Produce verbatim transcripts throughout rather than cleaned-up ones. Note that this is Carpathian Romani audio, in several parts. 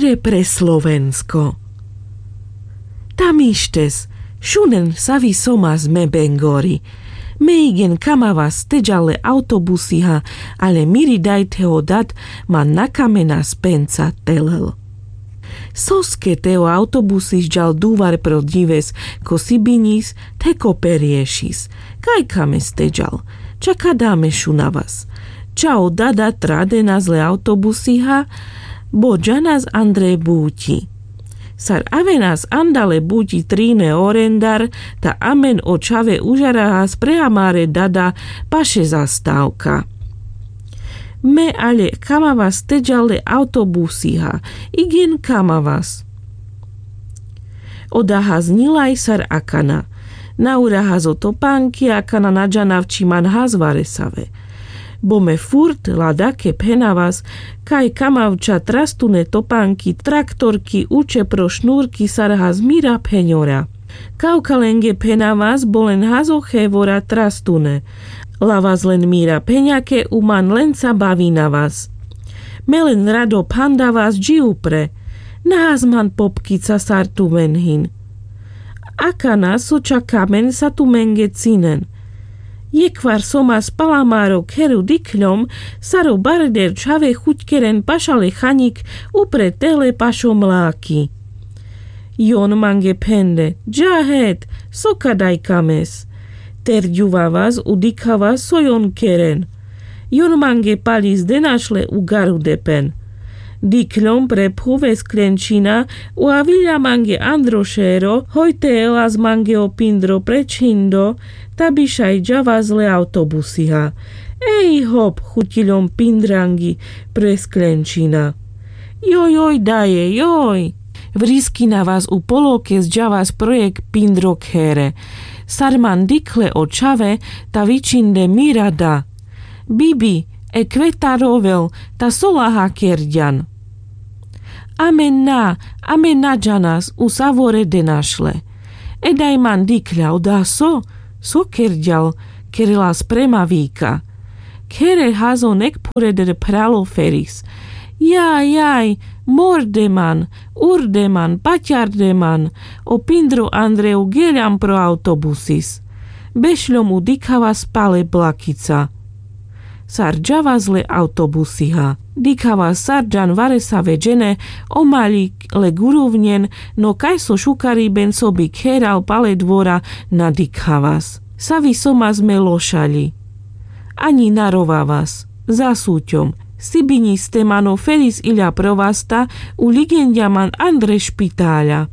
Pre slovensko. Tam ištes, šunen savi somas me bengori. Me igen kamavas teďal le autobusiha, ale miri daj te ho dad man na kamenas penca telel. Soske te o autobusis ďal duvar pro dives ko sibiňis, te ko periešis? Kaj kames teďal? Ča kada me šunavas? Ča o dada tradenas le autobusiha? Bo ďanas andre buťi. Sar avenas andale buťi trine orendar, ta amen o čhave užarahas pre amare dada paše zastavka. Me ale kamavas teďal le autobusiha. Igen kamavas. Oda has ňilaj sar akana. Naurahas o topanki akana na ďanav či man has varesave. Bo me furt la dake phenavas kaj kamav ča trastune topanki, traktorki, uče pro šnurki sar has mira pheňora. Kavka lenge phenavas bo len has o chevora trastune. La vas len mira pheňake u man lenca bavinavas. Me len rado phandavas ďi upre. Na has man popkica sar tumen hin. Akana so ča kamen sa tumenge cinen. Jekhvar somas pal amaro kheru dikhľom sar o barder čhave chuťkeren pašale chaňik upre tele pašo mlaki. Jon mange phende: Ďa het, so ka daj kames? Terďuvavas u dikhavas so jon keren. Jon mange paľis denašle u garudepen. Dikhľom pre phuve skľenčina u aviľa mange andro šero, hoj te elas mange o pindro pre čhindo, ta bišaj ďavas le autobusiha. Ej hop, chutiľom pindrangi pre skľenčina. Joj joj daje joj. Vriskinavas u poloke zďavas projek pindro khere. Sar man dikhle o čhave, ta vičinde mira da. Bibi, e kveta rovel, ta so laha kerďan? Amen na, amen na ďanas, u savore denašle. Edaj man dikľa oda so, so kerďal, kherelas prema vika. Khere hazo nek phureder phralo feris. Jaj jaj, morde man, urde man, paťarde man, o pindro andre u geľam pro autobusis. Bešľom u dikhavas pale blakica. Sar ďavas le autobusiha. Dikhavas sar ďan varesave džene, o maľik le guruvňen, no kaj so šukariben so bi kheral pale dvora na dikhavas. Savi somas me lošaľi. Aňi na rovavas. Za suťom. Sibiňiste mano feris iľa provasta, u ligenďa man andre špitaľa.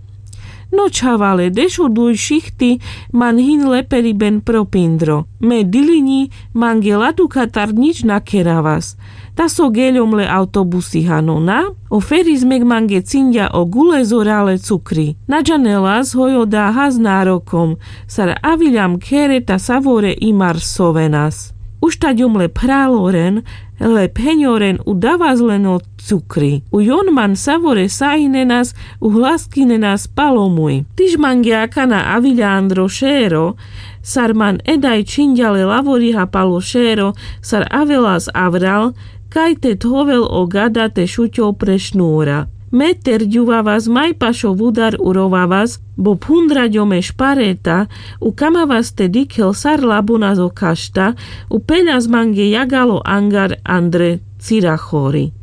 No čhavale, dešuduj šichti, man hin leperiben pro pindro. Me diliňi mange ladukatar ňič na keravas. Ta so geľom le autobusiha, no na? O feris mek mange cinďa o gulezora le cukri. Na ďanelas hoj oda has nárokom. Sar aviľam khere ta savore imar sovenas. Uštaďom le phraloren, le pheňoren u davas len o cukri. U jon man savore sahinenas, u hlaskinenas palo muj. Tiž mange akana aviľa andro šero. Sar man edaj čhinďa le lavoriha palo šero, sar avelas avral, kaj te thovel o gada te šuťol pre šnura. Me terďuvavas maj pašo vudar u rovavas, bo phundraďom e špareta, u kamavas te dikhel sar labonas o kašta, u peľas mange jagal o angar andre cirachori.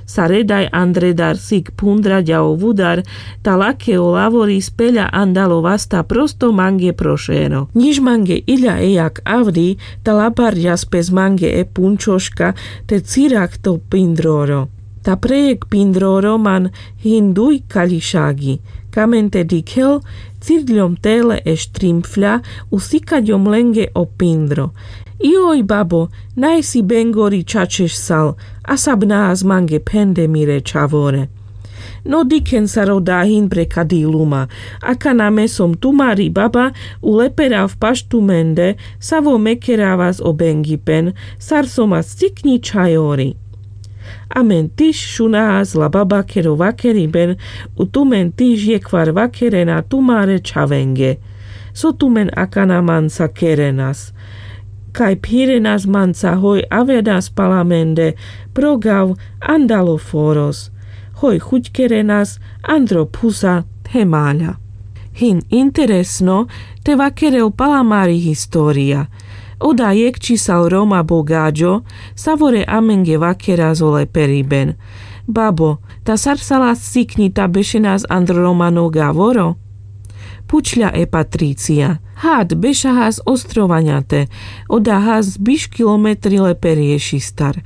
Sar edaj andre dar sik phundraďa o vudar, ta lake o lavoris peľa andalo vasta prosto mange pro šero. Ňiž mange iľa e jak avri, ta labarďas pes mange e punčoška, te cirach to pindroro. Ta prejek pindroro man hin duj kaľišagi. Kamen te dikhel, cirďom tele e štrimfľa, u sikaďom lenge o pindro. Joj babo, naj si bengori čačeš sal, a sab nahas mange phende mire čhavore. No dikhen sar oda hin pre kadi luma. Akana me som tumari baba, u leperav paš tumende, savo me keravas o bengipen, sar somas cikňi čhajori. Amen tiž šunahas la babakero vakeriben, u tumen tiž jekhvar vakerena tumare čhavenge. So tumen akana manca kerenas? Kaj phirenas manca hoj avenas pal amende, pro gav andalo foros. Hoj chuťkerenas andro phusa the maľa. Hin interesno te vakerel pala mari história. Oda jekh čisal roma bo gaďo, savore amenge vakeras o leperiben. Babo, ta sar sa las cikňi ta bešenas andro romano gavoro? Pučľa e patricia. Had bešahas ostrovaňate. Oda has biš kilometri leperiešistar.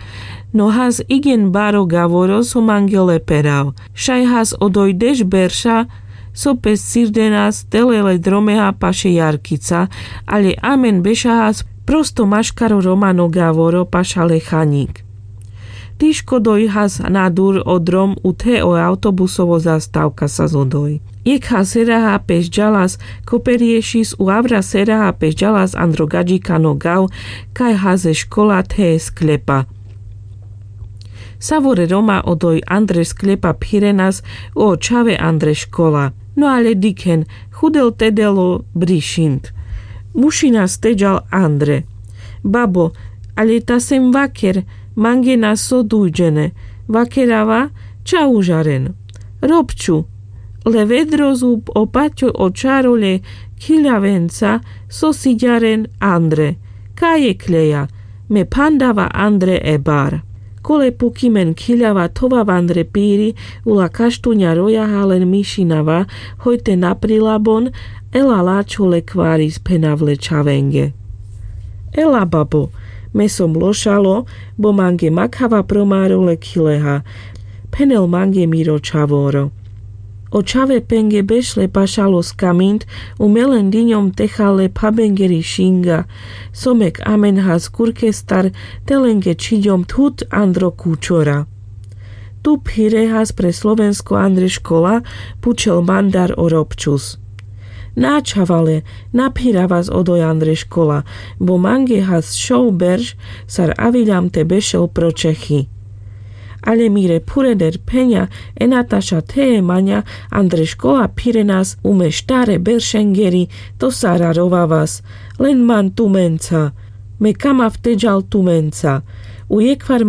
No has igen baro gavoro so mange leperav. Šaj has odoj deš berša so pes cirdenas tele le dromeha paše jarkica. Ale amen bešahas prosto maškaro romano gavoro paša le chaňik. Tiško doj has na dur o drom u the o autobusovo zastavka sas odoj. Jekha seraha peš ďalas ko periešis u avra seraha peš ďalas andro gaďikano gav kaj has e škola the e skľepa. Savore roma odoj andre skľepa phirenas o čhave andre škola. No ale dikhen chudel tedel o brišint. Mušinas teďal andre. Babo, ale ta sem vaker, mange na so dujďene. Vakerava ča užaren. Robču. Le vedro zub o paťo o čaroľe, khiľavenca so siďaren andre. Kaje kľeja? Me phandava andre e bar. Kole pukimen khiľava thovav andre piri. Ula kaštuňa rojaha len mišinava. Hoj te na prilabon. Ela lačho le kvaris phenav le čhavenge. Ela babo. Me som lošalo, bo mange makhava pro maro le khileha. Phenel mange miro čhavoro. O čhave penge bešle pašalo skamint. U me len diňom techal le phabengeri šinga. Somek amen has kurkestar te lenge čhiďom thut andro kučora. Tu phire has pre slovensko andre škola? Pučel mandar o robčus. Na čhavale, na phiravas odoj andre škola. Bo mange has šov berš sar aviľam te bešel pro čechi. Ale mire phurener pheňa e nataša the e maňa andre škola phirenas u me štare beršengeri. To sara rovavas. Len man tumenca. Me kamav teďal tumenca. U jekhvar